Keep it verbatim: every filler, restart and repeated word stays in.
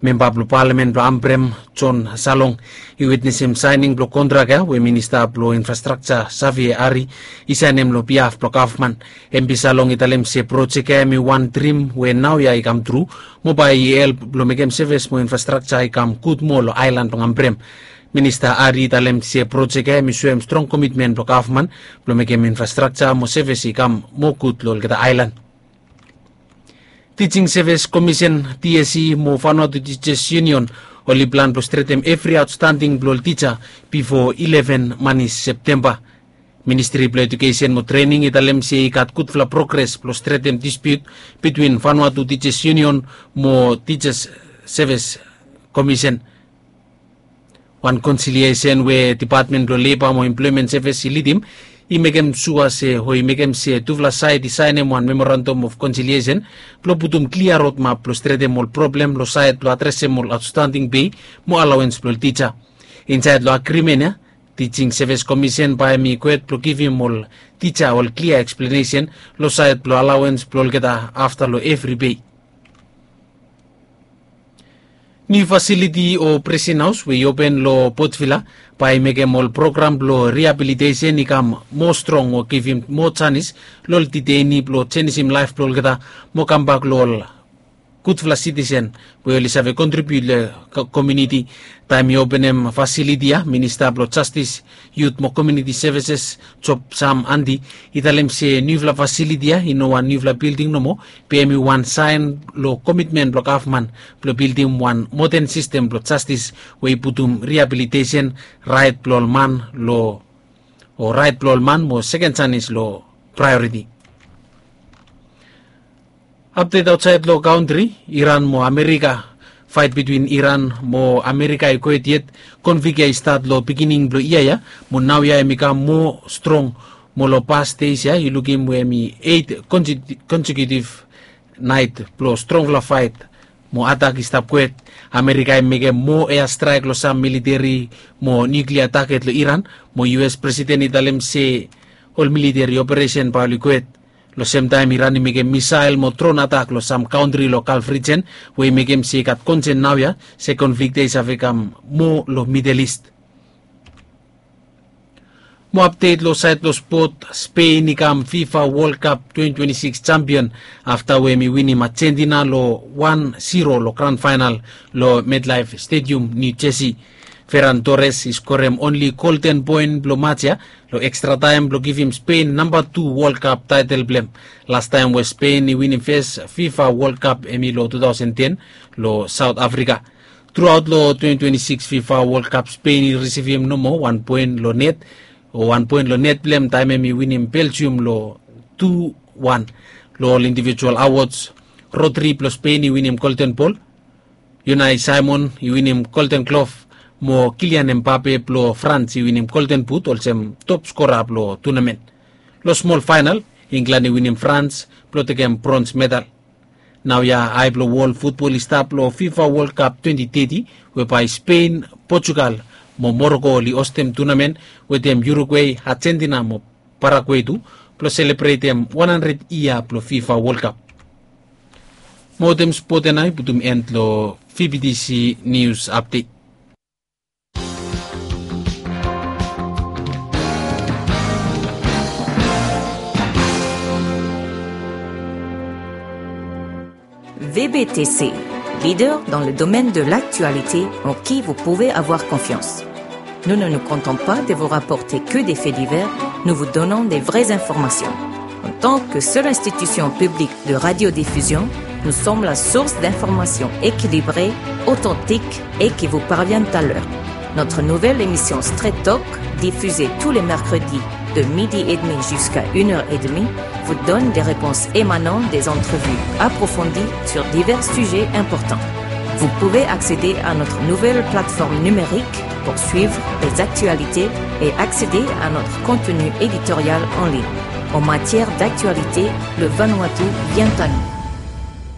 Memba blong palamen blong Ambrem, John Salong, i witnesim saening blong kontrak ya we minista blong infrastrakja Savie Ari i saenem long biaf blong gavman. Empi Salong i talem se projek ya hem i wan drim we naoia i kam tru, mo bae i help blong mekem sevis mo infrastrakja i kam gud moa long aelan blong Ambrem. Minista Ari i talem se projek ya hem i soem strong komitmen blong gavman blong mekem infrastrakja mo sevis i kam moa gud long olgeta aelan. Teaching Service Commission, T S C, mo Vanuatu Teachers Union oli plan blong stretem evri aotstanding blong ol tija bifo eleven manis Septemba. Ministri blong Ejukesen mo Trening i talem se i gat gudfala progres blong stretem dispiut bitwin Vanuatu Teachers Union mo Teachers Service Commission. Wan konsiliesen we Depatmen blong Leba mo Emploemen Sevis i lidim i mekem sua se o i mekem se tufala saed i saenem wan memorandam of konsiliesen blong putum klia rodmap blong stretem ol problem long saed blong adresem ol aotstanding pei mo alaoens blong ol tija. Insaed long agrimen ya, Teaching Service Commission bae hem i gohed blong givim ol tija ol klia eksplenesen long saed blong alaoens blong olgeta afta long evri pei. Niu fasiliti o Presen Haos we i open long Port Vila bae i mekem ol program blong riabilitesen i kam moa strong o givim moa janis long ol diteini blong jenisim laef blong olgeta mo kambak long ol gudfala sitisen we oli save kontribiut long komuniti. Taem i openem fasiliti ya, Minista blong Jastis, Yut mo Komuniti Sevises, Job Sam Andy, i talem se niufala fasiliti ya i no wan niufala bilding nomo, be hem i wan saen long komitmen blong gavman blong bildim wan moden sistem blong jastis we i putum riabilitesen, raet blong ol man long o raet blong ol man mo seken janis long praeoriti. Apdet aotsaed long kantri, Iran mo Amerika. Faet bitwin Iran mo Amerika i gohed yet. Konflik ya i stat long pikinini blong yia ya mo naoia hem i kam moa strong. Mo long pas deis ya i lukim we hem i eit konsekiutiv naet blong strongfala faet mo atak i stap gohed. Amerika i mekem moa eastraek long sam militeri mo niuklia taget long Iran, mo U S presiden i talem se ol militeri operesen bae oli gohed. Long semtaem Iran i mekem misael mo dron atak long sam kantri long Galf rijen, we i mekem se i gat konsen naoia se konflik ya i save kam moa long Midel Ist. Mo apdet long saed blong spot, Spen i kam FIFA World Cup twenty twenty-six jampion afta we hem i winim Ajentina long wan zero long gran faenal long MetLife Stadium, New Jersey. Ferran Torres i skorem onli golden poen blong maj ya long ekstra taem blong givim Spen namba tu World Cup taetel blong hem. Lastaem we Spen i winim fes FIFA World Cup hem i long two thousand ten long Saot Afrika. Truaot long twenty twenty-six FIFA World Cup, Spen i risivim nomo wan poen long net, o wan poen long net blong hem taem hem i winim Belgium long tu wan. Long ol indivijual awods, Rodri blong Spen i winim Golden Bol, Unai Simon i winim Golden Glove, mo Kylian Mbappe blong Frans i winim Golden Boot olsem top skora blong tunamen. Long smol faenal, Inglan i winim Frans blong tekem brons medal. Naoia ae blong wol futbol i stap long FIFA World Cup twenty thirty, we bae Spen, Portugal mo Moroko oli ostem tunamen, wetem Uruguay, Ajentina mo Paraguay tu, blong selebretem wan handred yia blong FIFA World Cup. Mo wetem spot ya nao i putum en long V B T C News Update. V B T C, leader dans le domaine de l'actualité en qui vous pouvez avoir confiance. Nous ne nous contentons pas de vous rapporter que des faits divers, nous vous donnons des vraies informations. En tant que seule institution publique de radiodiffusion, nous sommes la source d'informations équilibrées, authentiques et qui vous parviennent à l'heure. Notre nouvelle émission Straight Talk, diffusée tous les mercredis de midi et demi jusqu'à une heure et demie, vous donne des réponses émanant des entrevues approfondies sur divers sujets importants. Vous pouvez accéder à notre nouvelle plateforme numérique pour suivre les actualités et accéder à notre contenu éditorial en ligne. En matière d'actualité, le Vanuatu vient à nous.